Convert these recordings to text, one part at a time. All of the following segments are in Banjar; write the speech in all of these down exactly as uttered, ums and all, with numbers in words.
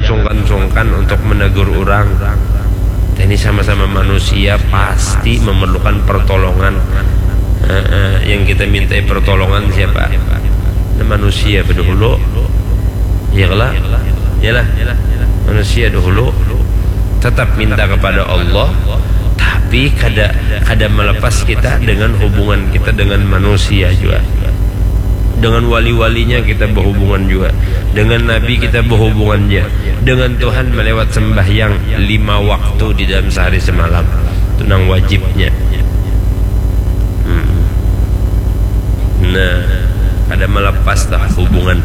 sungkan-sungkan untuk menegur orang. Kita ini sama-sama manusia, pasti memerlukan pertolongan. Heeh, yang kita mintai pertolongan siapa? Nah, manusia dahulu. Ya lah, ya lah. Manusia dahulu. Tetap minta kepada Allah, tapi kada kada melepas kita dengan hubungan kita dengan manusia juga. Dengan wali-walinya kita berhubungan juga. Dengan Nabi kita berhubungan juga. Dengan Tuhan melewat sembahyang lima waktu di dalam sehari semalam. Itu nang wajibnya. Hmm. Nah, kada melepas lah hubungan.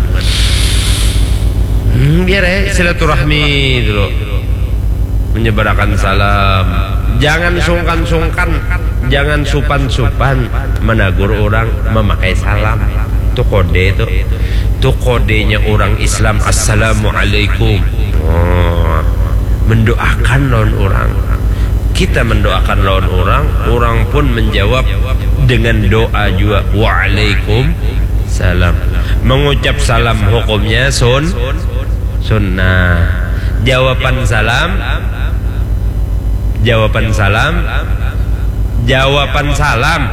Hmm, biar ya silaturahmi dulu. Menyebarakan salam. Jangan sungkan-sungkan, jangan supan-supan menegur orang memakai salam. Itu kode itu. Itu kodenya orang Islam, "Assalamualaikum." Oh, mendoakan lawan orang. Kita mendoakan lawan orang, orang pun menjawab dengan doa juga, "Waalaikumsalam." Mengucap salam hukumnya sun sunnah. Jawaban salam, jawaban salam, jawaban salam,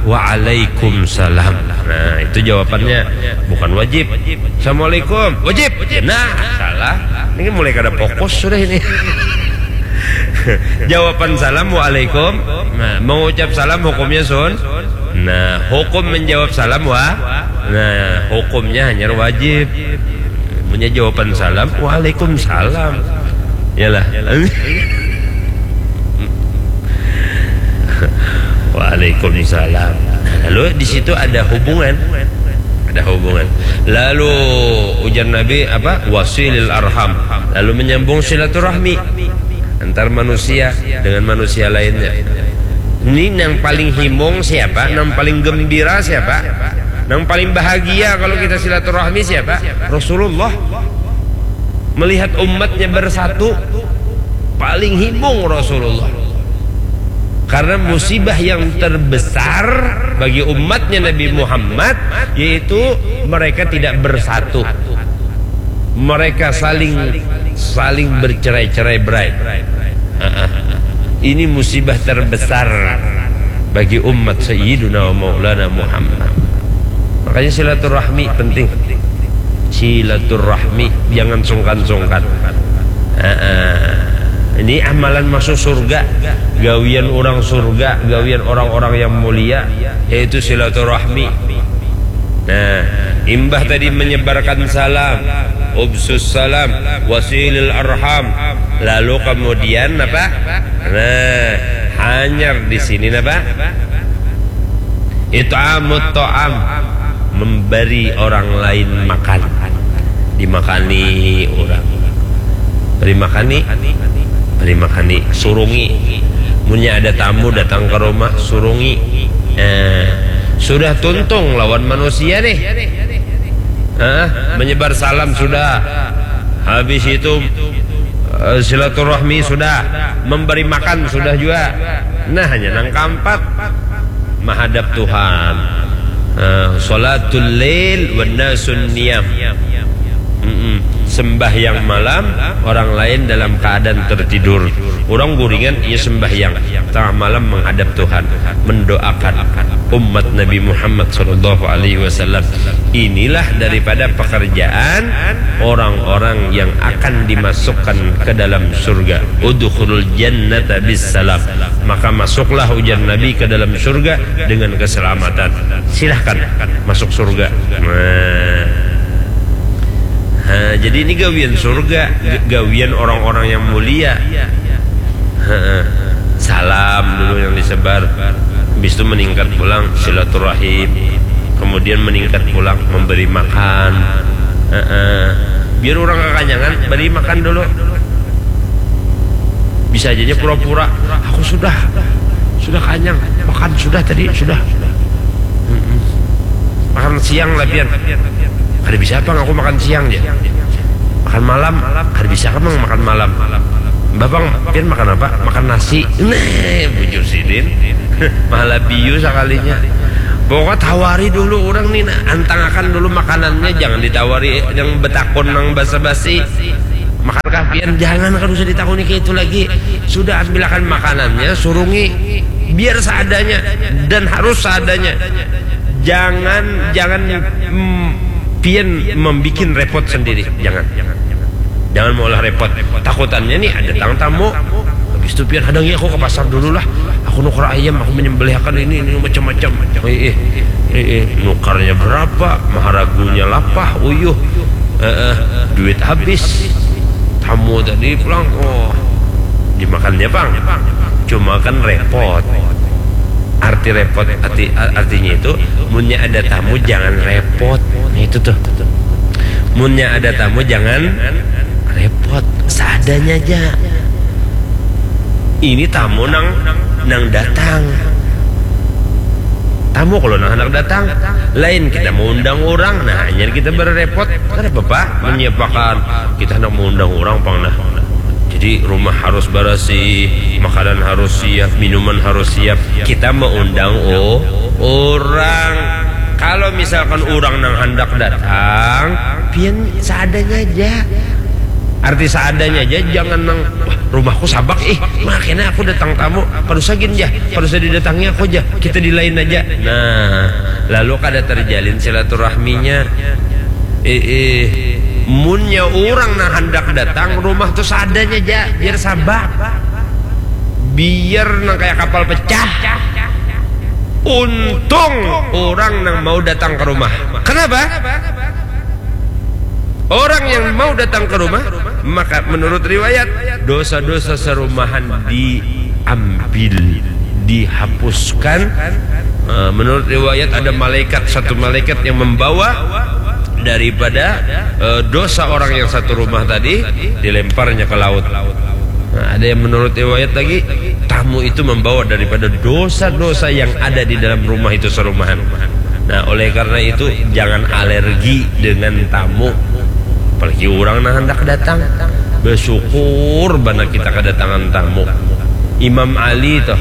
"Waalaikumsalam." Nah, itu jawabannya, bukan wajib. "Assalamualaikum." Wajib. Nah, salah. Ini mulai kada fokus sudah ini. Jawaban salam, "Waalaikum." Nah, mengucap salam hukumnya sun. Nah, hukum menjawab salam, wah. Nah, hukumnya hanya wajib. Punya jawaban salam, "Waalaikumsalam." Yalah. "Waalaikumsalam." Nah, lalu di situ ada hubungan. Ada hubungan. Lalu ujar Nabi apa? "Wasilil arham." Lalu menyambung silaturahmi antar manusia dengan manusia lainnya. Ini yang paling himung siapa? Yang paling gembira siapa? Yang paling bahagia kalau kita silaturahmi siapa? Rasulullah. Melihat umatnya bersatu, paling himung Rasulullah. Karena musibah yang terbesar bagi umatnya Nabi Muhammad yaitu mereka tidak bersatu. Mereka saling saling bercerai-cerai berai. Ini musibah terbesar bagi umat Sayyiduna wa Maulana Muhammad. Makanya silaturahmi penting. Silaturahmi, jangan sungkan-sungkan. Ini amalan masuk surga, gawian orang surga, gawian orang-orang yang mulia, yaitu silaturahmi. Nah, imbah tadi menyebarkan salam, ubsus salam, wasilil arham, lalu kemudian apa? Nah, hanyar di sini apa? It'amut ta'am, memberi orang lain makan. Dimakani orang. Beri makani, beri makani, surungi. Munnya ada tamu datang ke rumah, surungi. Eh, sudah tuntung lawan manusia nih. Hah? Menyebar salam sudah. Habis itu eh, silaturahmi sudah, memberi makan sudah juga. Nah, hanya nang keempat, menghadap Tuhan. Eh, salatul lail wan nasun niyam. Mm-mm. Sembahyang malam, orang lain dalam keadaan tertidur. Orang guringan, ia sembahyang. Tengah malam menghadap Tuhan, mendoakan umat Nabi Muhammad sallallahu alaihi wasallam. Inilah daripada pekerjaan orang-orang yang akan dimasukkan ke dalam surga. Udkhulul jannata bis salam. Maka masuklah, ujar Nabi, ke dalam surga dengan keselamatan. Silahkan masuk surga. Nah. Ha, jadi ini gawian surga, gawian orang-orang yang mulia. Heeh. Salam dulu yang disebar. Habis itu meningkat pulang silaturahim. Kemudian meningkat pulang memberi makan. Heeh. Biar orang kekanyangan, beri makan dulu. Bisa aja pura-pura, "Aku sudah, sudah kanyang, makan sudah tadi, sudah." Mm-mm. Makan siang lah pian. "Kada bisa apa aku makan siang," ya. "Makan malam, kada bisa kamu makan malam." "Bapang, pian makan apa?" "Makan nasi." Nah, bujur sidin. Malah biu sekalinya. Pokoknya tawari dulu orang nih, nah, antangakan dulu makanannya, jangan ditawari yang betakun nang basa-basi. Makan Pian jangan, kada usah ditakuni kayak itu lagi. Sudah, ambilakan makanannya, surungi, biar seadanya, dan harus seadanya. Jangan, jangan mm, pian membikin repot sendiri. Jangan, jangan, jangan. Jangan maulah repot. Takutannya nih ada datang tamu. Habis itu pian hadangi, aku ke pasar dulu lah. Aku nukar ayam, aku menyembelihkan ini, ini macam-macam. Eh, eh, eh, eh, nukarnya berapa? Maharagunya lapah, uyuh. Eh, eh, duit habis. Tamu tadi pulang, oh, dimakannya pang. Cuma kan repot. Arti repot, arti, artinya itu, munnya ada tamu jangan repot. Nah, itu tuh. Munnya ada tamu jangan repot, seadanya aja. Ini tamu nang, nang datang. Tamu kalau nang hendak datang, lain kita mau undang orang, nah, hanyar kita berrepot. Kada apa-apa menyiapakan. Kita hendak mau undang orang pang, nah. Jadi rumah harus barasih, makanan harus siap, minuman harus siap. Kita mau undang, oh, orang. Kalau misalkan orang nang hendak datang, pian seadanya aja. Arti seadanya aja, jangan nang, "Wah, rumahku sabak ih, makanya aku datang tamu, kada usah gin jah, kada usah didatangi aku jah, kita di lain aja." Nah, lalu kada terjalin silaturahminya. Eh, eh, munnya orang nang hendak datang rumah tuh seadanya aja, biar sabak, biar nang kayak kapal pecah. Untung orang nang mau datang ke rumah. Kenapa? Orang yang mau datang ke rumah, maka menurut riwayat, dosa-dosa serumahan diambil, dihapuskan. Eh, menurut riwayat ada malaikat, satu malaikat yang membawa daripada eh, dosa orang yang satu rumah tadi, dilemparnya ke laut. Nah, ada yang menurut riwayat lagi, tamu itu membawa daripada dosa-dosa yang ada di dalam rumah itu serumahan. Nah, oleh karena itu, jangan alergi dengan tamu. Apalagi orang nang hendak datang. Bersyukur banar kita kedatangan tamu. Imam Ali toh,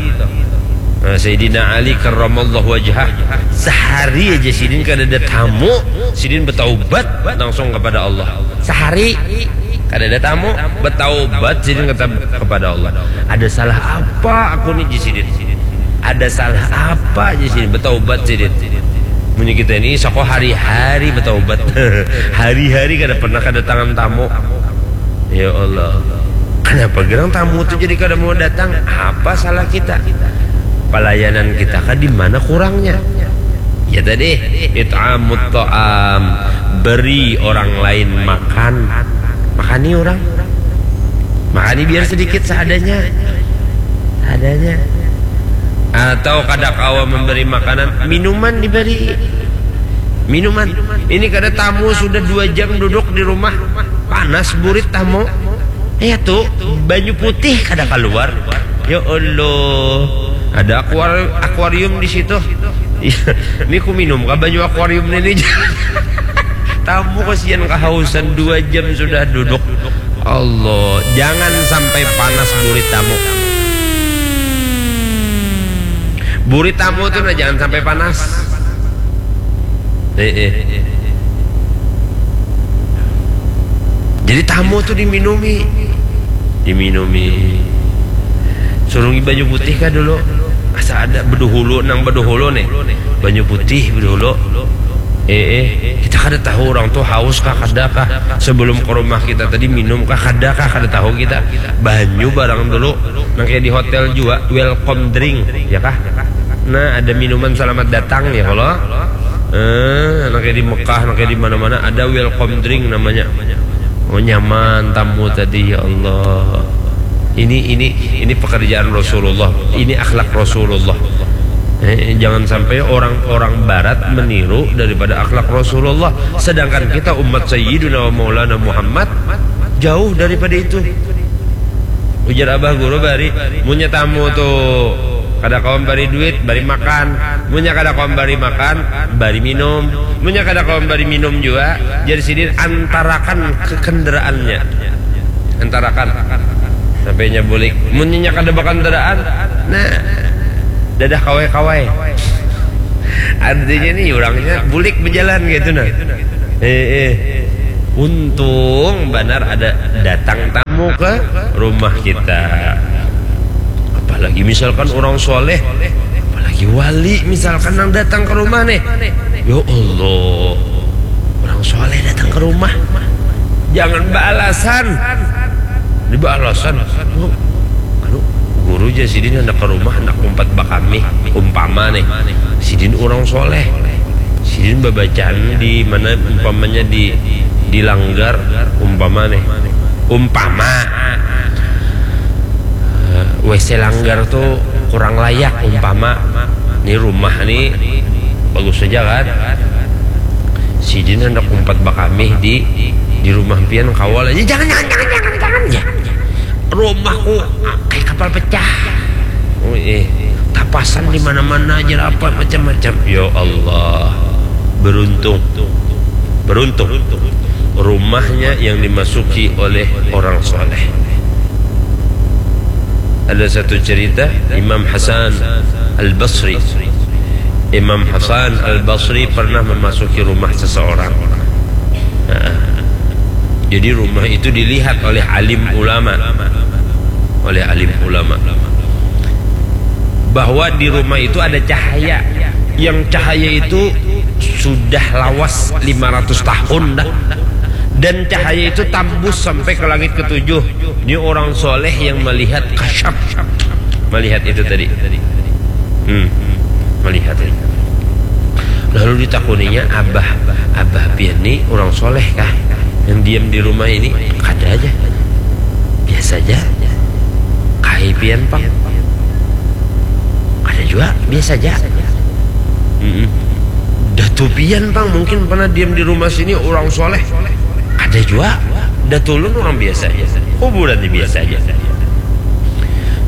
eh, Sayyidina Ali karramallahu wajhah, sehari aja sidin kada ada tamu, sidin bertaubat langsung kepada Allah. Sehari kada ada tamu, bertaubat sidin kata kepada Allah. Ada salah apa aku ni, ji sidin? Ada salah apa, ji sidin? Bertaubat sidin. Munnya kita ini sako hari-hari bertaubat. Hari-hari kada pernah kedatangan tamu. Ya Allah. Kenapa gerang tamu tu jadi kada mau datang? Apa salah kita? Pelayanan kita kah di mana kurangnya? Ya tadi, it'amut ta'am, beri orang lain makan. Makani orang. Makani biar sedikit seadanya. Adanya. Atau kada kawa memberi makanan, minuman diberi. Minuman. Ini kada tamu sudah dua jam duduk di rumah. Panas burit tamu. Ya tuh, banyu putih kada keluar. Ya Allah. Ada akuar akuarium di situ. Iya, ini ku minum kah banyu akuarium ini? Tamu kasihan kehausan, dua jam sudah duduk. Allah, jangan sampai panas burit tamu. Burit tamu tuh nah jangan sampai panas. Eh, eh. Jadi tamu tuh diminumi, diminumi. Surungi banyu putih kah dulu? Asa ada beduhulu, nang beduhulu nih. Banyu putih beduhulu. Eh, eh, kita kada tahu orang tuh haus kah, kada kah. Sebelum ke rumah kita tadi minum kah, kada kah, kada tahu kita. Banyu barang dulu. Nang kayak di hotel juga, welcome drink, ya kah? Nah, ada minuman selamat datang ya kalau. Eh, nang kayak di Mekah, nang kayak di mana-mana ada welcome drink namanya. Oh, nyaman tamu tadi, ya Allah. Ini ini ini pekerjaan Rasulullah. Ini akhlak Rasulullah. Eh, jangan sampai orang-orang barat meniru daripada akhlak Rasulullah. Sedangkan kita umat Sayyidina wa Maulana Muhammad jauh daripada itu. Ujar abah guru bari, munnya tamu tu kada kawa bari duit, bari makan. Munnya kada kawa bari makan, bari minum. Munnya kada kawa bari minum jua, jar sidin antarakan ke kendaraannya. Antarakan. Sampai nya bulik. Munnya kada bakandaraan, nah, dadah kawai-kawai. Artinya nih orangnya bulik berjalan gitu nah. Eh, eh. Untung banar ada datang tamu. ke rumah kita. Apalagi misalkan orang soleh, apalagi wali misalkan nang datang ke rumah nih. Ya Allah, orang soleh datang ke rumah. Jangan beralasan. Ini beralasan. Oh, anu, guru aja sidin hendak ke rumah, hendak umpat bakami. Umpama nih, sidin orang soleh. Sidin babacaan di mana umpamanya di di langgar umpama nih. Umpama eh, W C langgar tuh kurang layak umpama. Ini rumah nih bagus saja kan. Sidin hendak umpat bakamih di di rumah pian kawal aja. Jangan, jangan, jangan, jangan, jangan. Ya. Rumahku kayak kapal pecah. Oh, eh, tapasan di mana-mana aja apa macam-macam. Ya Allah. Beruntung. Beruntung. Rumahnya yang dimasuki oleh orang soleh. Ada satu cerita Imam Hasan Al-Basri. Imam Hasan Al-Basri pernah memasuki rumah seseorang. Nah, jadi rumah itu dilihat oleh alim ulama. Oleh alim ulama. Bahwa di rumah itu ada cahaya. Yang cahaya itu sudah lawas lima ratus tahun dah. Dan cahaya itu tambus sampai ke langit ketujuh. Ini orang soleh yang melihat kasyaf. Melihat itu tadi. Hmm. Melihat itu. Lalu ditakuninya, "Abah, abah pian ni orang soleh kah? Yang diam di rumah ini?" "Kada aja. Biasa aja." "Kai pian pang?" "Kada jua, biasa aja." "Mm-mm. Datu pian pang mungkin pernah diam di rumah sini orang soleh?" "Kada jua. Datu ulun orang biasa aja. Kuburan ni biasa aja."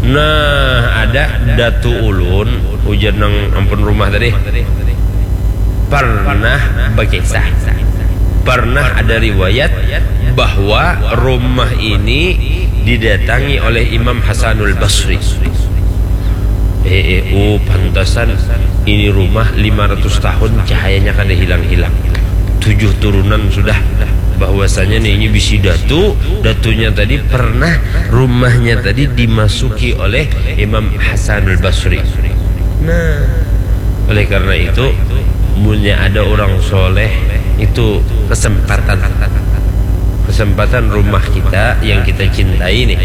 "Nah, ada datu ulun," ujar nang ampun rumah tadi, "pernah bakisah, pernah ada riwayat bahwa rumah ini didatangi oleh Imam Hasanul Basri." Eh, eh, oh, pantasan ini rumah lima ratus tahun cahayanya kada hilang-hilang. Tujuh turunan sudah bahwasanya nih ini bisi datu, datunya tadi pernah rumahnya tadi dimasuki oleh Imam Hasanul Basri. Nah, oleh karena itu, munnya ada orang soleh itu kesempatan, kesempatan rumah kita yang kita cintai nih,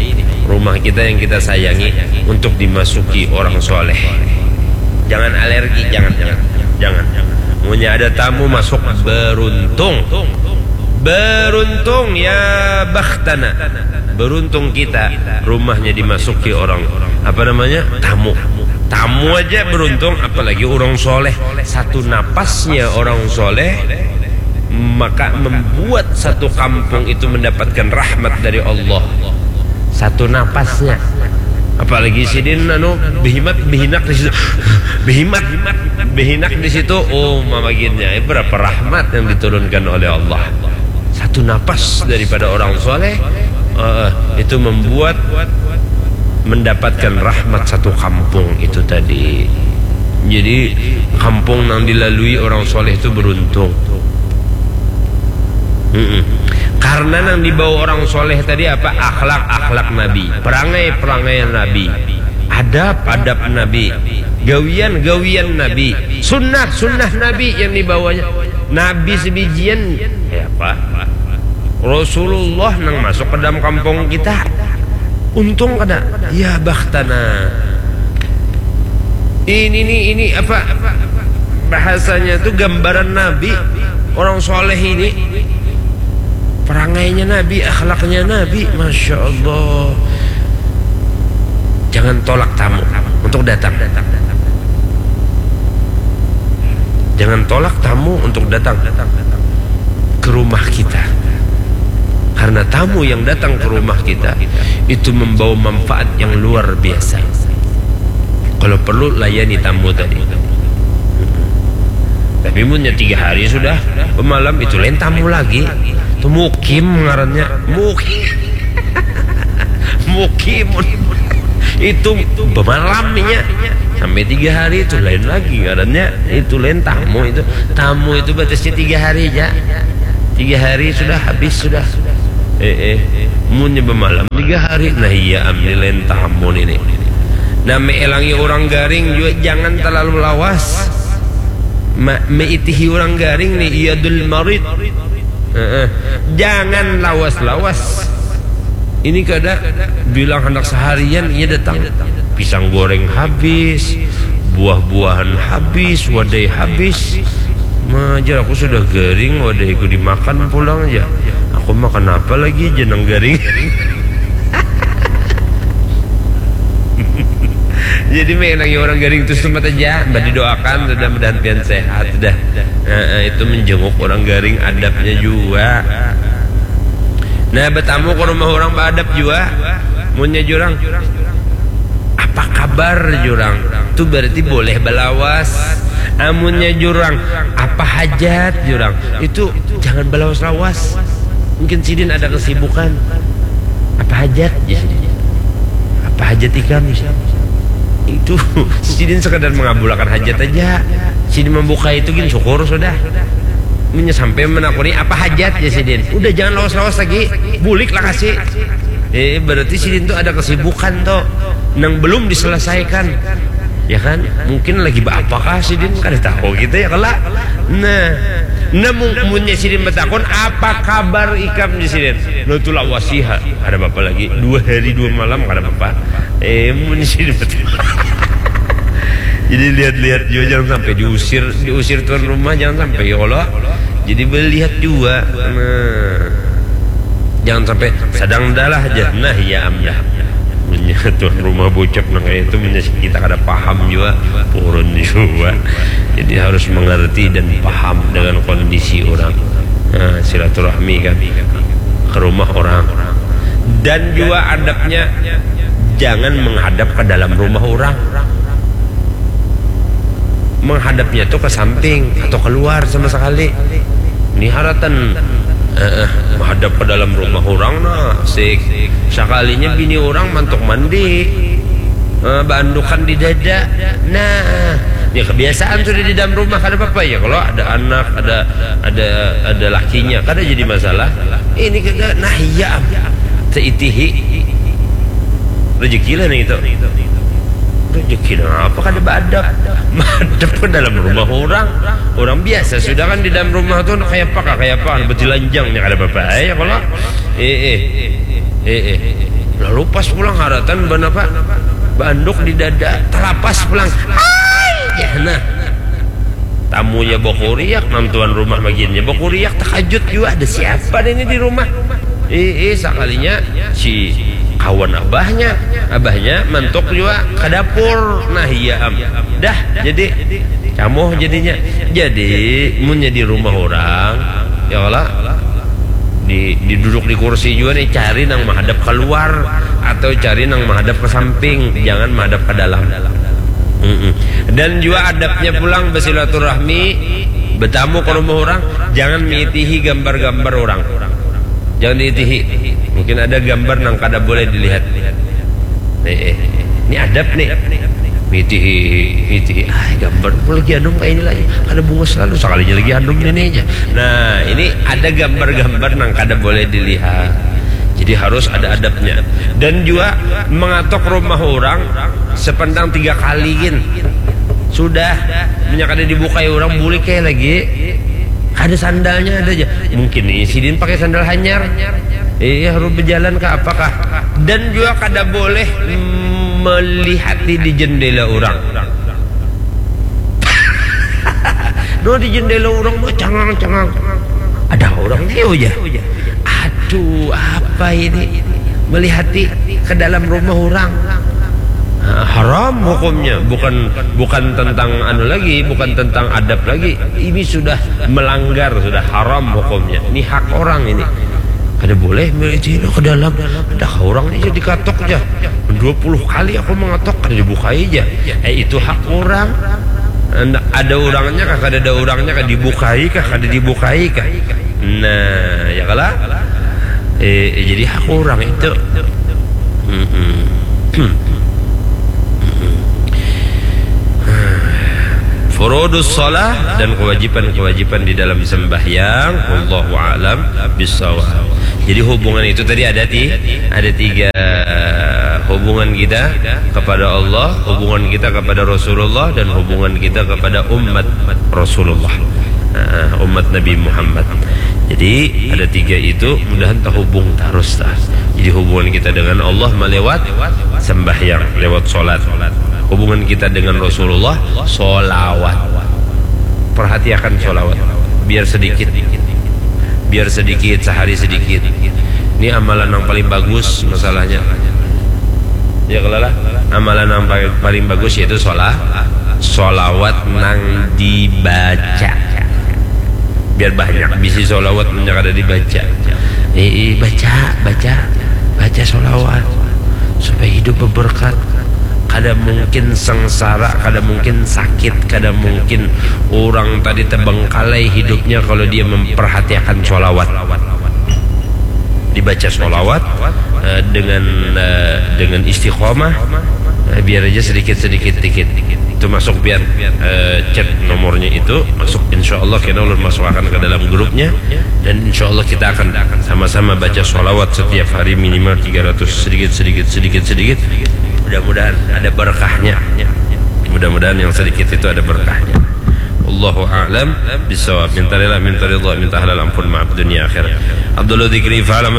rumah kita yang kita sayangi untuk dimasuki orang soleh. Jangan alergi, jangan, jangan, jangan. Munnya ada tamu masuk, beruntung. Beruntung, ya bakhtana. Beruntung kita, rumahnya dimasuki orang, apa namanya, tamu. Tamu aja beruntung, apalagi orang soleh. Satu napasnya orang soleh, maka membuat satu kampung itu mendapatkan rahmat dari Allah. Satu napasnya. Apalagi sidin anu behimat behinak di situ. Behimat behinak di situ. Oh, mamaginnya berapa rahmat yang diturunkan oleh Allah. Satu napas daripada orang soleh, eh, itu membuat mendapatkan rahmat satu kampung itu tadi. Jadi, kampung yang dilalui orang soleh itu beruntung. Mm-mm. Karena yang dibawa orang soleh tadi apa? Akhlak-akhlak Nabi, perangai-perangai Nabi, adab-adab Nabi, gawian-gawian Nabi, sunnah-sunnah Nabi yang dibawanya. Nabi sebijian, ya apa? Rasulullah nang masuk ke dalam kampung kita. Untung kada? Ya bakhtana. Ini nih, ini apa? Bahasanya tuh gambaran Nabi, orang soleh ini. Perangainya Nabi, akhlaknya Nabi, Masya Allah. Jangan tolak tamu untuk datang. Jangan tolak tamu untuk datang ke rumah kita. Karena tamu yang datang ke rumah kita itu membawa manfaat yang luar biasa. Kalau perlu, layani tamu tadi. Tapi munnya tiga hari sudah bemalam, itu lain tamu lagi. Itu mukim ngarannya. Mukim. Mukimun. Itu bemalamnya. Sampai tiga hari itu lain lagi ngarannya. Itu lain tamu itu. Tamu itu batasnya tiga hari aja. Tiga hari sudah habis sudah. Eh, eh. Munnya bamalam tiga hari, nah iya am ni lain tamu ni. Nah, meelangi orang garing jua jangan terlalu lawas. Ma, meitihi orang garing ni iyadul marid. Heeh. Jangan lawas-lawas. Ini kada bilang hendak seharian ia datang. Pisang goreng habis, buah-buahan habis, wadai habis. Majar aku sudah garing, wadaiku dimakan pulang aja. Aku makan apa lagi jenang garing. Jadi menangi orang garing itu sempat aja, mbak didoakan sudah mudahan pian sehat sudah. Nah, itu menjenguk orang garing adabnya juga. Nah, bertamu ke rumah orang beradab juga. Munnya jurang, apa kabar jurang? Itu berarti boleh belawas. Amunnya jurang, apa hajat jurang? Itu jangan belawas-lawas. Mungkin sidin ada kesibukan. Apa hajat ya sidin? Apa hajat ikam? Itu sidin sekadar mengabulakan hajat aja. Sidin membuka itu gin syukur sudah. Munnya sampai menakuni apa hajat ya sidin. Udah jangan lawas-lawas lagi. Bulik lah kasih. Eh, berarti sidin tuh ada kesibukan tuh nang belum diselesaikan. Ya kan? Mungkin lagi apa kah sidin kada tahu gitu ya kala. Nah, namun munnya sidin bertakun apa kabar ikam di sidin? Nah, itulah wasiha. Ada apa lagi? Dua hari dua malam kada apa-apa. Eh, munnya sidin bertakun. Jadi lihat-lihat juga jangan sampai diusir, diusir tuan rumah jangan sampai ya Allah. Jadi melihat juga. Nah, jangan sampai sadang dalah aja. Nah, iya am dah. Munnya tuan rumah bocap nang kayak itu, munnya kita kada paham juga, purun juga. Jadi harus mengerti dan paham dengan kondisi orang. Nah, silaturahmi kan ke rumah orang. Dan juga adabnya jangan menghadap ke dalam rumah orang. Menghadapnya tuh ke samping atau keluar sama sekali. Ini haratan eh, eh, menghadap ke dalam rumah orang nah, sik. Sekalinya bini orang mantuk mandi. Eh, bandukan di dada. Nah, ya kebiasaan sudah di dalam rumah kada apa-apa ya kalau ada anak, ada ada ada lakinya kada jadi masalah. Ini kada nah iya am. Seitihi rezeki lah nih itu. Rezeki apa kada beadab? Madep ke dalam rumah orang. Orang biasa sudah kan di dalam rumah tuh kayak apa kayak apa betilanjang nih kada apa-apa ya kalau eh eh eh eh lalu pas pulang haratan banapa banduk di dada telapas pulang ay ya nah tamunya bakuriak nang tuan rumah bagiannya bakuriak takajut juga ada siapa ini di rumah eh eh sakalinya si kawan abahnya abahnya mantuk juga ke dapur nah iya am dah jadi camoh jadinya jadi munnya di rumah orang ya Allah di, di duduk di kursi juga nih cari nang menghadap keluar atau cari nang menghadap ke samping jangan menghadap ke dalam Mm-mm. Dan juga adabnya pulang bersilaturahmi bertamu ke rumah orang jangan mengitihi gambar-gambar orang jangan diitihi mungkin ada gambar nang kada boleh dilihat eh, eh. Ini adab nih mitihi mitihi ah gambar aku lagi anum kayak ini lagi ada bunga selalu sekalinya lagi anum ini aja nah ini ada gambar-gambar nang kada boleh dilihat jadi harus ada adabnya dan juga mengatok rumah orang sependang tiga kali gin sudah minyak ada dibukai orang bulik kayak lagi ada sandalnya ada aja mungkin nih sidin pakai sandal hanyar iya harus berjalan ke apakah dan juga kada boleh melihati di jendela orang no di jendela orang no cengang cengang ada orang dia aja aduh apa ini melihati ke dalam rumah orang nah, haram hukumnya bukan bukan tentang anu lagi bukan tentang adab lagi ini sudah melanggar sudah haram hukumnya ini hak orang ini kada boleh itu ke dalam ada orang ini jadi katok aja dua puluh kali aku mengetok kada dibukai aja eh itu hak orang ada orangnya kah kada ada orangnya kah dibukai kah kada dibukai kah nah ya kalah eh, eh jadi hak orang itu Mm-mm. Mm-mm. Furudus shalah dan kewajiban-kewajiban di dalam sembahyang. Wallahu a'lam bishawab. Jadi hubungan itu tadi ada ti, ada tiga hubungan kita kepada Allah, hubungan kita kepada Rasulullah dan hubungan kita kepada umat Rasulullah. Nah, umat Nabi Muhammad. Jadi ada tiga itu mudahan terhubung terus tah. Jadi hubungan kita dengan Allah melewat sembahyang, lewat sholat. Hubungan kita dengan Rasulullah sholawat. Perhatiakan sholawat. Biar sedikit. Biar sedikit, sehari sedikit. Ini amalan yang paling bagus masalahnya. Ya kalau lah, amalan yang paling, paling bagus yaitu sholat, sholawat nang dibaca. Biar banyak bisi sholawat yang ada dibaca. Eh, eh, baca, baca, baca sholawat supaya hidup berberkat. Kada mungkin sengsara, kada mungkin sakit, kada mungkin orang tadi terbengkalai hidupnya kalau dia memperhatiakan sholawat. Dibaca sholawat eh, dengan eh, dengan istiqomah, eh, biar aja sedikit sedikit dikit itu masuk, biar eh, chat nomornya itu masuk, insya Allah kena ulun masukkan ke dalam grupnya dan insya Allah kita akan sama-sama baca sholawat setiap hari minimal tiga ratus, sedikit sedikit sedikit sedikit. Mudah-mudahan ada berkahnya. Mudah-mudahan yang sedikit itu ada berkahnya. Allahu a'lam bishawab. Minta rela, minta ridha, minta halal ampun, maaf dunia akhirat. Abdullah Dzikri, fa'lam